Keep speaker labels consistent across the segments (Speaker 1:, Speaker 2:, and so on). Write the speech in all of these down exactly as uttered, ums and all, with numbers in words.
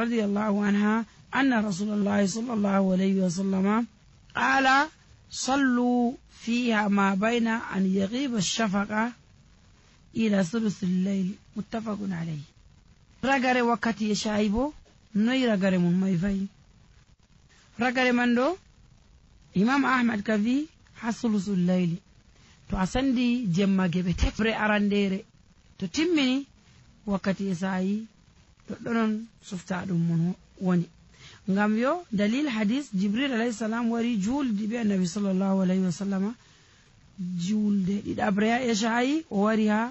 Speaker 1: رضي الله عنها أن رسول الله صلى الله عليه وسلم قال صلوا فيها ما بين أن يغيب الشفق إلى ثلث الليل متفق عليه. رغري وقتي يشايبو نوي رغري من مايفاي رغري مندو إمام أحمد كفي ثلث الليل to a sandi jemma gebe tebre arandere to timmini wakkati e sayi to donon sufta dum mun woni ngam yo dalil hadis jibril alayhi salam wari juldi be annabi sallallahu alayhi wasallama julde didabre e sayi o wari ha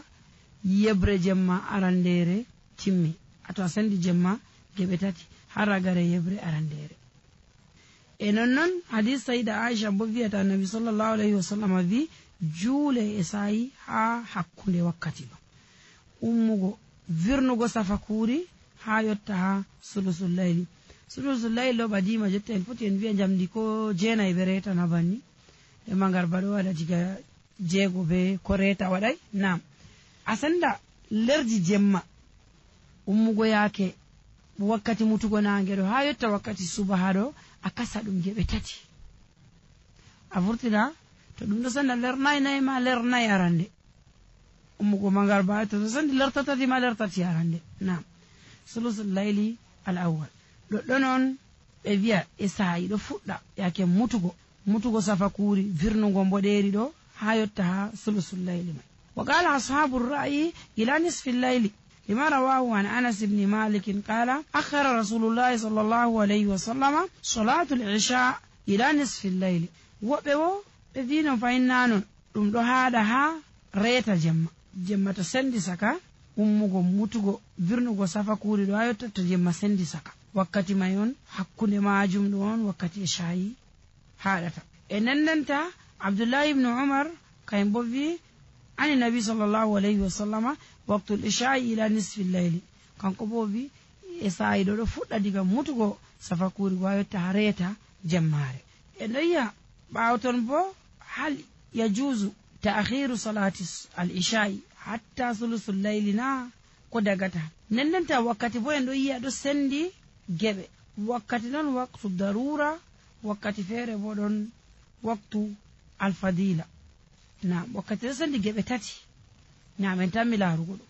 Speaker 1: yebre jemma arandere timmi ato a sandi jemma gebe tati haragare yebre arandere e non non hadis sayda aisha bo wi'ata annabi sallallahu alayhi wasallama vi juule e sayi ha hakkunde wakkati ba ummugo virnugo safakuri ha yotta ha sulusul layli sulusul layli lo badima jotta en foti en wi'a jamdi ko jena e bereta na banni e mangar bado wada diga jeego be ko reta wadai nam asanda lerdi jemma ummugo yake wakkati mutugo nangedo ha yotta wakkati subaha do akasa dum gebe tati a vurtina to dum do sanda ler nay nay ma ler nay arande ummugo mangar ba to sanda ler tatati ma ler tati arande nam sulusul layli al awwal do donon be wi'a e sayi do fudda yake mutugo mutugo safakuri virnugo mboderi do ha yotta ha sulusul layli mai wa qala ashabur ra'yi ila nisfi al-layli لما رواه عن أنس بن مالك قال أخر رسول الله صلى الله عليه وسلم صلاة العشاء إلى نصف الليل وبو بذين فإنانون ɗum ɗo haɗa ha reeta jemma jemma to sendi saka ummugo mutugo virnugo safakuri ɗo ha yotta to jemma sendi saka wakkati may on hakkunde majum ɗo on wakkati e shayi haɗata e nandanta abdoullahi ibnu umar kayen bo wi ani nabi sallallahu alayhi wa sallama waqtul isha'i ila nisfi layli kanko bo wi e sayi ɗo ɗo fuɗɗa diga mutugo safakuri go ha yotta ha reeta jemmare e noyiya ɓawo ton bo hal yajuzu ta'khiru salati al-isha'i hatta thuluthul layli na ko dagata nendenta wakkati bo en do yi'a do sendi gebe wakkati non waqtu darura wakkati fere bo don waqtu al-fadila na wakkati do sendi gebe tati na men tammi larugo do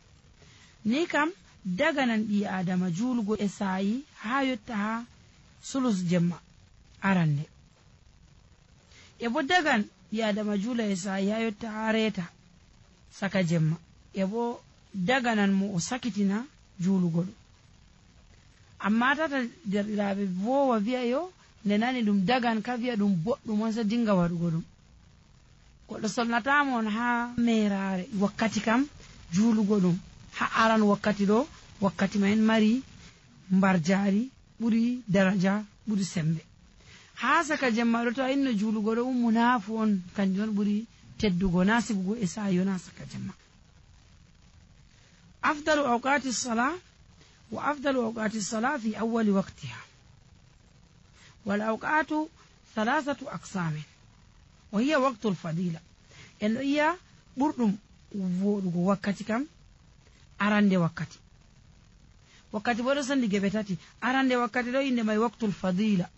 Speaker 1: ni kam daga nan bi adama julugo e sayi ha yotta ha sulus jemma arande e bo dagan yadama jula e sayi ha yotta ha reta saka jemma e bo daganan mo o sakitina julugo do amma tata derɗiraɓe vowa wi'a yo nde nani ɗum dagan ka wi'a ɗum boɗɗum on sa dinga waɗugo ɗum goɗɗo solnatamon ha merare wakkati kam julugo ɗum ha aran wakkati ɗo wakkati ma en mari mbarjari ɓuri daraja ɓuri sembe ha saka jemma ɗo to inno julugo ɗo ummu naafu on kanjum on ɓuri teddugo na sibugo e sayo na saka jemma afdalu awqati salah wa afdalu awqati salah fi awwali waqtiha wal awqatu thalathatu aqsamin wa hiya waqtu al fadila en iya ɓurɗum voɗugo wakkati kam arande wakkati wakkati bo ɗo sandi geɓe tati arande wakkati ɗo inde may waqtul fadila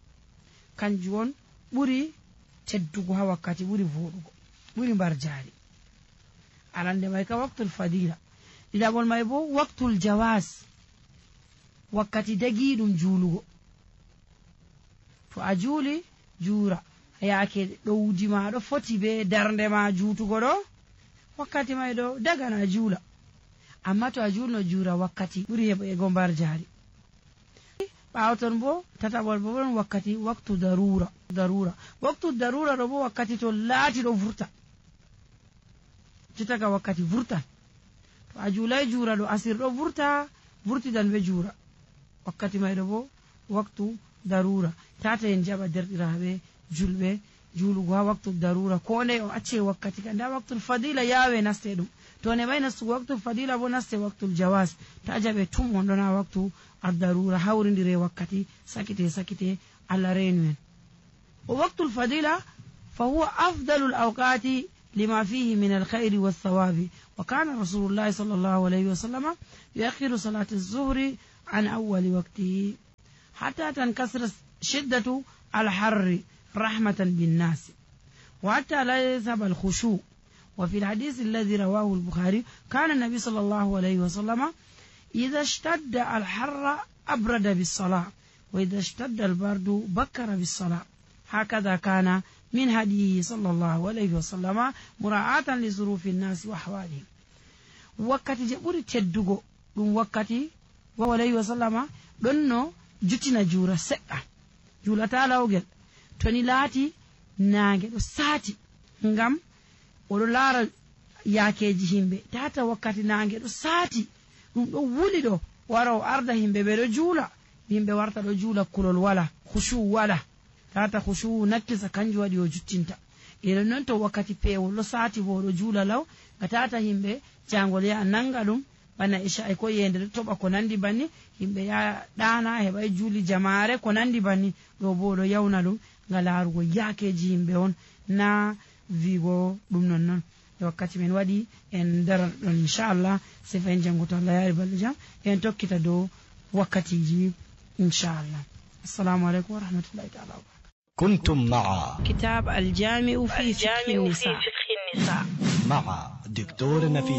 Speaker 1: kanjum on ɓuri teddugo ha wakkati ɓuri voɗugo ɓuri mbar jari arande may ka waqtul fadila ɗiɗaɓol may bo waqtul jawas wakkati dagiɗum julugo to a juuli juura yaake ɗowdi ma ɗo foti be darnde ma juutugo ɗo wakkati may ɗo dagana juula amma to a julno juura wakkati ɓuri heɓego mbar jari ɓawo ton bo tataɓol bo ɗon wakkati waktu darura darura waktu darura ɗo bo wakkati to laati ɗo vurta jottaga wakkati vurtan to a juulay juura ɗo asir ɗo vurta vurtidan be juura wakkati may ɗo bo waktu darura tata en jaɓa derɗiraɓe julɓe julugo ha waktu darura ko ne o acce wakkati ka nda waktul fadila yawe naste ɗum to ne may nastugo waktul fadila bo naste waktul jawas ta jaɓe tum on ɗon ha waktu addarura hawridire wakkati sakite sakite allah reenu en o waktul fadila fa huwa afdalu al-awqati lima fihi min al-khayri was-sawabi wa kana rasulullahi sallallahu alayhi wa sallam yuakhiru salati az-zuhri an awwali waqtihi حتى تنكسر شدة الحر رحمة بالناس وحتى لا يذهب الخشوع. وفي الحديث الذي رواه البخاري كان النبي صلى الله عليه وسلم إذا اشتد الحر أبرد بالصلاة وإذا اشتد البرد بكر بالصلاة. هكذا كان من هديه صلى الله عليه وسلم مراعاة لظروف الناس وأحوالهم. وقتي جبوري تدوغو دون وقتي وعليه وسلم دونو جتنا جورا سقا جولا تالاوغل توني لاتي نانge do sati ngam odo lara yakeji himbe tata wakkati nange do sati dum do wuli do waro arda himbe be do jula himbe warta do jula kulol wala khushu wala tata khushu nakkisa kanji wadi o juttinta ire non to wakkati pewol do sati bo do jula law gatata himbe jangol ya nanga dum bana isha ay ko yende do toba ko nandi banni himbe ya dana heba juli jamaare ko nandi banni do bo do yawna dum ngalarugo yakeji himbe on na vigo dum non non wakkati men wadi en darar don inshallah se fen janguto Allah yari balja en tokkita do wakkati ji inshallah. Assalamu alaikum wa rahmatullahi ta'ala wa barakatuh.
Speaker 2: كنتم مع
Speaker 1: كتاب الجامع في فقه النساء
Speaker 2: مع دكتور نفيس